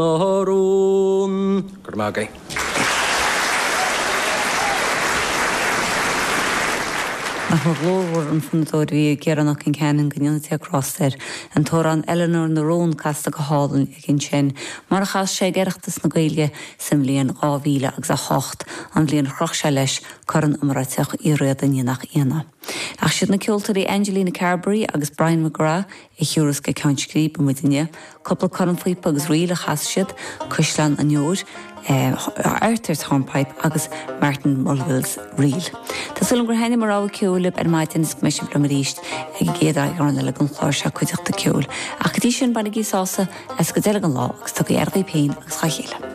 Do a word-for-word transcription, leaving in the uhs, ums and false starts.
na Rún. Go raibh maith agaibh. Nach mór glórmhar an fonnadóir a bhí ag Ciarán Ó Concheanainn go ndéana Dia grásta air. An t-amhrán Eleanor na Rón casta go hálainn aige ansin, mar a chas sé ag Oireachtas na Gaeilge sa mbliain dhá mhíle agus a hocht, an bhliain a chroch sé leis Corn iomráiteach Uí Riada ní nach ionadh. Ach siad na ceoltóirí Angelina Carberry agus Brian McGrath a thiúrfas go ceann scríbe muid inniu. Cúpla cornphíopa agus ríl a chas siad, Caisleán an Iúir, Arthur's Hornpipe agus Martin Mulville's Reel. Tá súil agam gur thaitnigh mo rogha ceoil libh ar maidin is go mbeidh sibh liom arís ag an gcéad eagrán eile den chlár seo Cuideachta Ceoil. Ach go dtí sin bainigí sásamh as an gcuid eile den lá agus tugaigí aire daoibh féin agus dá chéile.